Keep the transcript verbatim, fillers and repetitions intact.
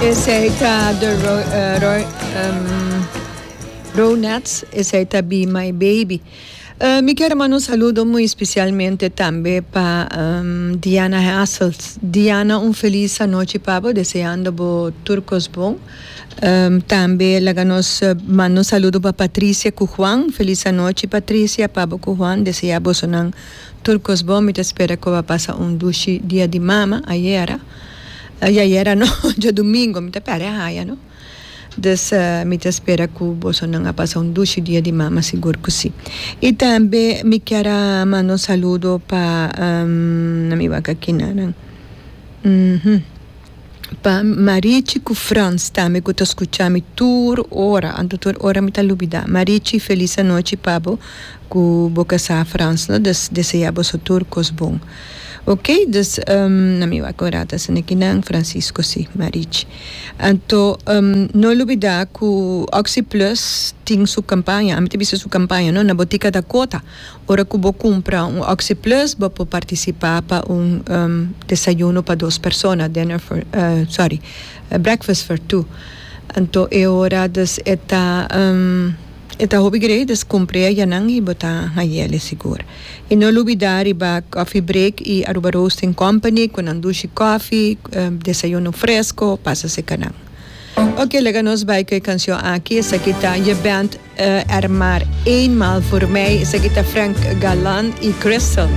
Esey ta The Ro, uh, Ro, um, Ronettes, esey ta Be My Baby. Uh, mi kier manda un saludo muy especialmente tambe pa um, Diana Hassels. Diana, un feliz anochi pa bo, deseando bo tur cos bon. Um, tambe laga nos uh, manda un saludo pa Patricia cu Juan. Feliz anochi, Patricia, pa bo cu Juan, desea boso nan tur cos bon. Mi ta spera cu a pasa un dushi dia di mama ayera. Uh, ayera no, diadomingo, mi ta pera haya, no? Dus uh, mi ta spera cu boso nan a pasa un dushi dia di mama, sigur cu si. Y tambe mi kier manda un saludo pa um, na mi aki na uhum. Pa Marichi cu Frans tambe, cu ta scucha mi tur ora, anto tur ora mi ta lubida. Marichi, feliz anochi pa bo cu bo casa Frans, no? Dus desea boso tur cos bon. Ok, dus um, na mi acorda nan Francisco si, Marichi. Anto um, no lubida cu Oxi Plus tin su campaña, ami ta su campaña, no, na Botica Dakota. Ora cu bo cumpra un Oxi Plus, bo por participa pa un um, desayuno pa dos persona, dinner for, uh, sorry, uh, breakfast for two. Anto e ora dus e ta um, e ta hopi great, dus cumpra ya nan y bo ta hay'e sigur. Y no lubida riba Coffee Break y Aruba Roasting Company cu nan dushi coffee, um, desayuno fresco, pasa cerca nan. Ok, laga nos bay cu e cancion aki. Esaki ta Je bent uh, er maar eenmaal voor mij. Esaki ta Frank Galan y Crystal.